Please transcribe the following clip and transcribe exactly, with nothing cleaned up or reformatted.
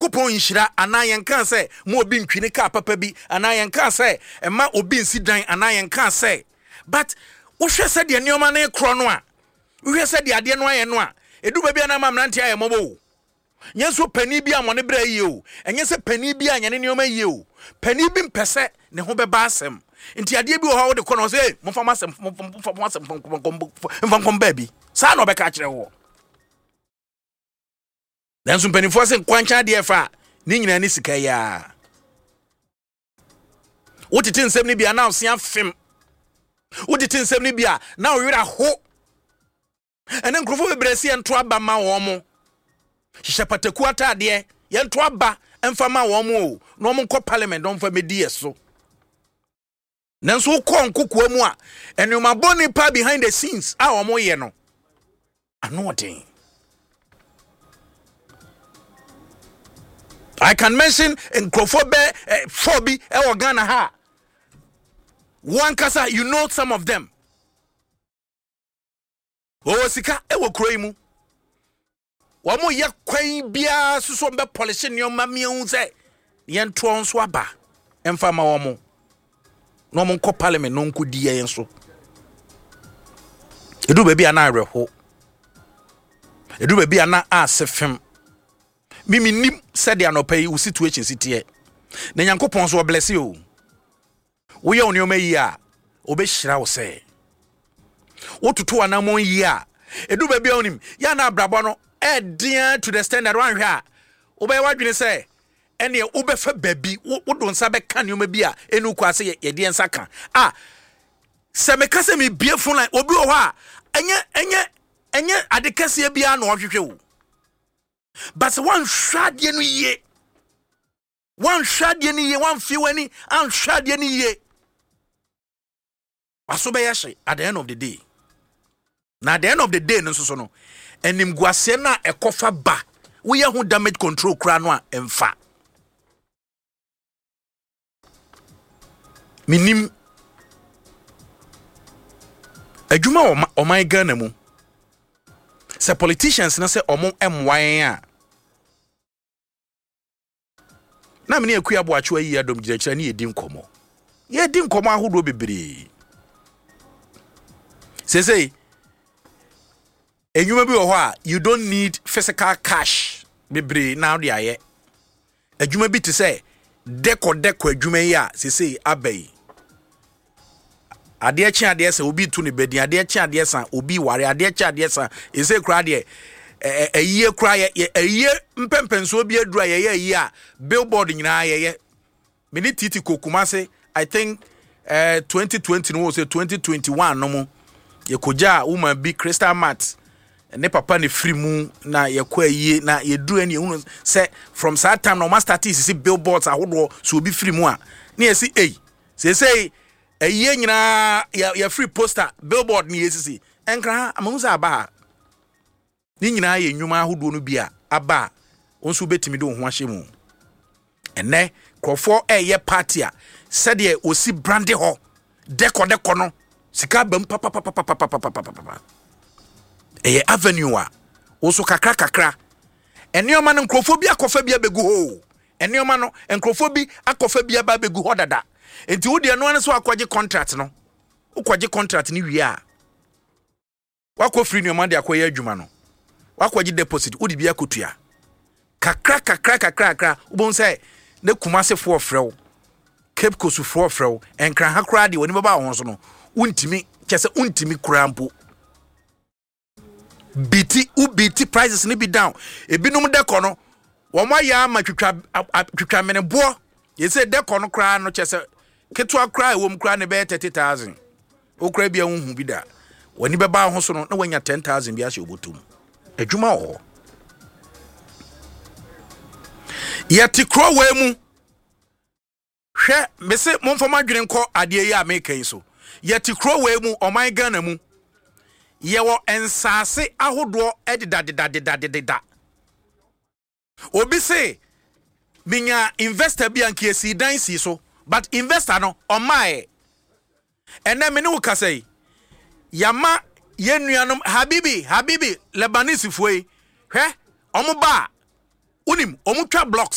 Nyankopɔn nhyira anaa yɛnka sɛ ma obi ntwi ne kaa papa bi anaa yɛnka sɛ ɛma obi nsi dan anaa yɛnka sɛ, but wohwɛ sɛdeɛ nneɛma no korɔ no a, wohwɛ sɛdeɛ adeɛ no ayɛ no a, ɛdu baabi a na ama mmeranteɛ ayɛ mmɔbɔ o. Nyɛ nso panin bi a mɔne berɛ yie o, ɛnyɛ sɛ panin bi a nyɛ ne nneɛma yie o. Panin bi mpɛ sɛ ne ho bɛba asɛm, nti adeɛ bi wɔ hɔ a wode kɔ no, ɔsɛ, "Momfa mo asɛm, momfa mo asɛm mfa nkɔm baabi." Saa na ɔbɛka akyerɛ wɔ. Nanso mpanimfoɔ sɛ nkwankyɛn adeɛ fa a ne nyinaa ne sika yi a wotete nsɛm no bi a na ɔse afem, wotete nsɛm no bi a na ɔwerɛ aho. Ɛne nkurɔfoɔ bebree sɛ yɛnto aba ma wɔn mo hyehyɛ pataku ataadeɛ, yɛnto aba mfa ma wɔn mo o, na wɔn nkɔ parliament na wɔmfa mɛdi yɛ so. Nanso wokɔ nkokoa mu a, nneɛma bɔne pa behind the scenes a wɔn yɛ no ano ɔden. I can mention nkurɔfoɔ bɛ eh, four bi ɛwɔ Ghana ha. Wɔn ankasa, you know some of them. Wɔwɔ sika ɛwɔ kuro yi mu. Wɔn yɛ kwan biara soso bɛ polish nneɛma mmienu sɛ yɛntoɔ nso aba mfa ma wɔn na wɔn nkɔ parliament na wɔn di yɛn so. Edu baabi a na awerɛho, edu baabi a na ase fam. Mimi nim sɛdeɛ anɔpa yi wo situation si teɛ, na Nyankopɔn so ɔbless o. Woyɛ wo nneɛma yie a, obɛhyira wo. Sɛ wototo anammɔn yie a, edu baabi a wonim yɛ na abrabɔ no ɛɛdeɛ to the standard. Woanhwɛ a, wobɛyɛ w'adwene sɛ ɛneɛ wobɛfa baabi, wode nsa bɛka nneɛma bi a ɛnu kɔ ase yɛde yɛn nsa ka a. Sɛ meka sɛ mebie phone line, obi wɔ hɔ a ɛnyɛ ɛnyɛ ɛnyɛ ade kɛseɛ biara na ɔhwehwɛ o, but sɛ woanhwɛ adeɛ no yie, woanhwɛ adeɛ no yie, woamfie w'ani anhwɛ adeɛ no yie, waso bɛyɛ hye at the end of the day. Na at the end of the day no nso so no, animguaseɛ no a ɛkɔfa ba, woyɛ ho damage control koraa no a, ɛmfa. Menim adwuma wɔ ɔman Ghana mu sɛ politicians no sɛ ɔmo mmoa yɛn a, na mene Akua Aboakyewa ayi adɔm gyinakyerɛ ne yɛdi nkɔmmɔ, yɛdi nkɔmmɔ ahodoɔ bebree. Seesei enwuma bi wɔ hɔ a you don't need physical cash bebree na wode ayɛ adwuma bi te sɛ dɛkɔ dɛkɔ adwuma yi a seesei aba yi. Adeɛ kye adeɛ sɛ obi tu ne bɛdin, adeɛ kye adeɛ sa obi ware, adeɛ kye adeɛ sa ɛsɛ koraa deɛ ɛyie koraa yɛ ɛyie mpɛmpɛnsoɔ bi aduru a yɛyɛ ɛyie a billboard nyinaa yɛyɛ. Mene titi kɔ Kumase, I think uh, twenty twenty no wɔ sɛ twenty twenty-one no mu, yɛkɔgya a woman bi, Crystal Mat ne papa ne firi mu, na yɛkɔ ayie na yɛduru ɛne yɛhunu sɛ from saa time na ɔma start sisi billboards ahodoɔ so obi firi mu a ne yɛsi ei, seesei ayie nyinaa yɛfiri poster billboard ne yɛsisi. Ɛnkra ha amahu sɛ aba ha ne nyinaa yɛ nnwuma ahodoɔ no bi a aba a wo nso wobɛtumi de wo ho ahyɛ mu. Ɛnɛ nkurɔfoɔ ɛyɛ party a, sɛdeɛ wɔsi brand hɔ dɛkɔdɛkɔ no, sika bam papapapapapapapapa. Ɛyɛ avenue a wo so kakra kakra nneɛma no, nkurɔfoɔ bi akɔfa bi abɛgu hɔ o. Nneɛma no, nkurɔfoɔ bi akɔfa bi aba abɛgu hɔ dada, nti wo deɛ noa no sɛ wakɔgye contract no. Wokɔgye contract no wie a, wakɔ firi nneɛma de akɔyɛ adwuma no, wakɔgye deposit, wode bi akɔtua kakra kakra kakra kakra. Wobɛhu sɛ ne Kumasefoɔ frɛ wo, Cape Coastfoɔ frɛ wo, Nkran koraa deɛ wɔne bɛba wo ho so no, wontumi kyɛ sɛ wontumi koraa mpo beat wo beat prices no bi down. Ebinom dɛkɔ no, wɔn ayɛ ama twitwa twitwa meneboɔ. Yɛsɛ dɛkɔ no koraa no, kyɛ sɛ ketewa koraa ɛwɔ mu koraa ne bɛyɛ thirty thousand. Wokora bi a wohu bi da, w'ani bɛba ho so no na wanya ten thousand bi ahyɛ obotom. Adwuma wɔ hɔ. Yɛte kuro wei mu. Hwɛ, mese momfa mo adwene nkɔ adeɛ yi a meka yi so. Yɛte kuro wei mu, ɔman Ghana mu, yɛwɔ nsaase ahodoɔ ɛdedadedadedadeda. Obi se minya investor bi a nka esi dan si so, but investor no ɔmaaɛ. Ɛnɛ me ne wo kasa yi, yama yɛn nuanom habibi habibi Lebanese foɔ yi, hwɛ, ɔmo ba a wonim ɔmo twa blocks.